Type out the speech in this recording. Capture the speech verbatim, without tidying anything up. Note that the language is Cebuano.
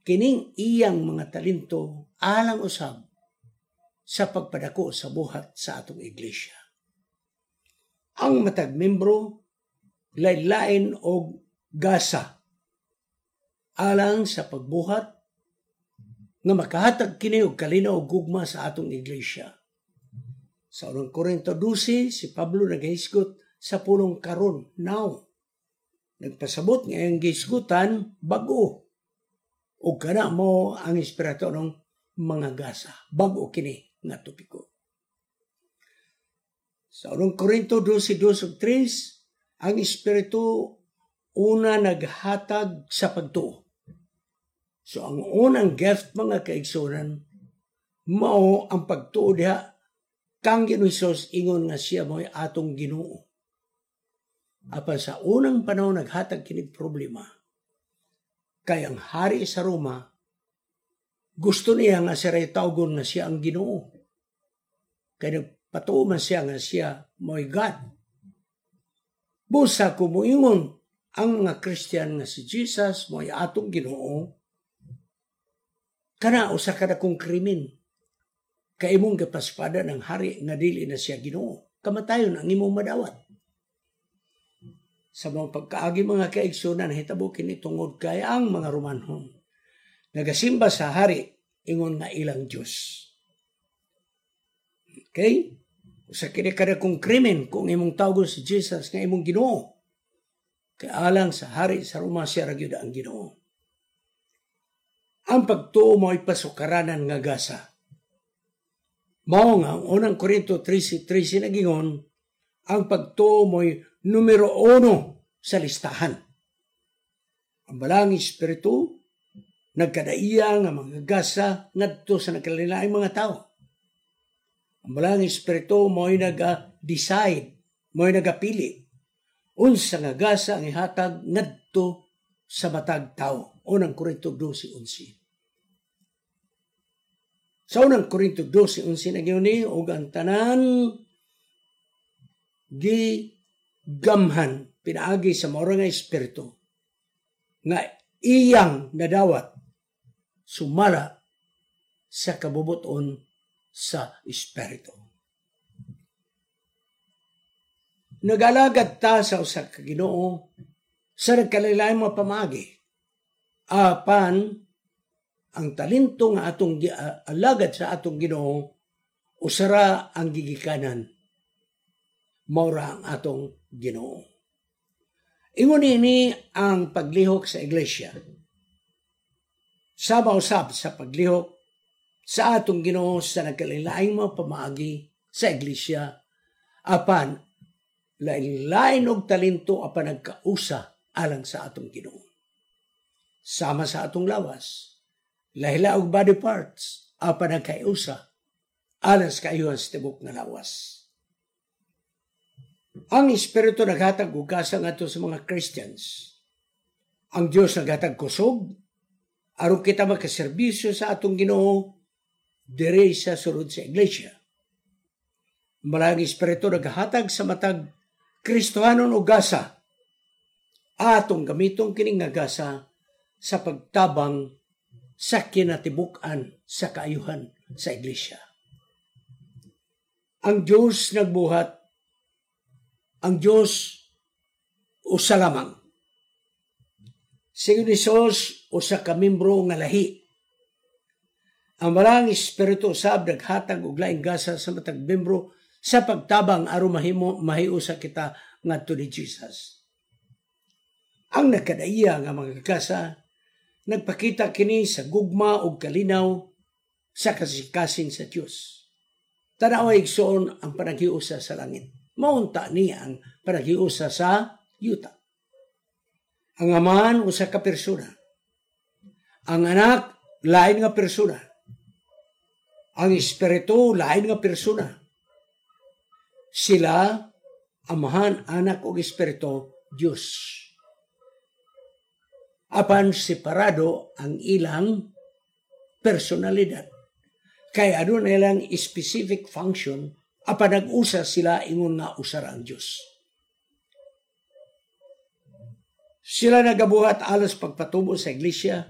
Kining iyang mga talento alang usab sa pagpadako sa buhat sa atong iglesia. Ang matag membro lain-lain og gasa alang sa pagbuhat nga makahatag kini og kalinaw og gugma sa atong iglesia. Sa unang Korinto dose, si Pablo nagahisgot sa pulong "karon", "now". Nagpasabot nga ang gihisgutan bag-o. Ug kana mao ang espiritu ng mga gasa. Bag-o kini nga topiko. Sa unang Korinto dose, dos ug tres, ang espiritu una naghatag sa pagtuo. So ang unang gift, mga kaigsunan, mao ang pagtuo diha kang Ginoo Hesus ingon nga siya mo'y atong Ginoo. Apan sa unang panahon naghatag kini problema. Kay ang hari sa Roma gusto niya nga siya tawgon nga siya ang Ginoo. Kay nagpatuo man siya nga siya mo'y God. Busa kung moingon ang mga Christian nga si Jesus mo'y atong Ginoo, kana usa ka dakong krimen. Kay imong gipaspada ng hari nga dili na siya Ginoo. Kamatayon ang imong madawat. Sa mga pagkaagi, mga kaigsunan, nahitabo kini tungod kay ang mga Romanhon nagasimba sa hari ingon nga ilang Diyos. Okay? Usa kini kadakong krimen kung imong tawgon si Jesus nga imong Ginoo. Kay alang sa hari sa Roma, siya ra gyud ang Ginoo. Ang pagtuo mo'y pasukaranan nga gasa. Mao nga ang unang Korinto trese trese nagingon, ang pagtuo mo'y numero uno sa listahan. Ang Balaang Espiritu nagkadaiya nga mga gasa ngadto sa nagkalain mga tao. Ang Balaang Espiritu mo'y naga-decide, mo'y nagapili unsa nga gasa ang ihatag ngadto sa matag tao. Unang Korinto dose onse. Sa unang Korinto dose onse nagyun ni og ang tanan gi gamhan pinaagi sa mao nga espiritu nga iyang nadawat sumala sa kabubuton sa espiritu. Nagalagad ta sa usa ka Ginoo sa nagkalain mga pamaagi. Apan ang talento nga atong alagad sa atong Ginoo, usara ang gigikanan. Maura ang atong Ginoo. Ingon ini ang paglihok sa iglesia. Sama usab sa paglihok sa atong Ginoo sa nagkalain mga pamaagi sa iglesia, apan lain-lain og talento apan nagkausa alang sa atong Ginoo. Sama sa atong lawas, lahi-lahi og body parts apan nagkausa alang sa kaayuhan sa tibok nga lawas. Ang Espiritu naghatag og gasa ngadto sa mga Christians. Ang Dios naghatag kusog aron kita makaserbisyo sa atong Ginoo diri sa sulod sa iglesia. Balaang Espiritu naghatag sa matag Kristohanon og gasa. Atong gamiton kining nga gasa sa pagtabang sa kinatibuk-an sa kaayuhan sa iglesia. Ang Diyos nagbuhat, ang Diyos usa lamang. Si Jesus usa ka membro nga lahi. Ang Balaang Espiritu usab naghatag og laing gasa sa matag membro sa pagtabang aron mahimo mahiusa kita ngadto ni Jesus. Ang nagkadaiya nga mga gasa nagpakita kini sa gugma ug kalinaw sa kasing-kasing sa Dios. Tanawa, igsoon, ang panaghiusa sa langit. Maunta ni ang panaghiusa sa yuta. Ang Amahan usa ka persona. Ang Anak lain nga persona. Ang Espiritu lain nga persona. Sila, Amahan, Anak ug Espiritu, Dios. Apan separado ang ilang personalidad. Kay aduna ilang specific function apan nag-usa sila ingon nga usa ra ang Dios. Sila nagabuhat alang pagpatubo sa iglesia.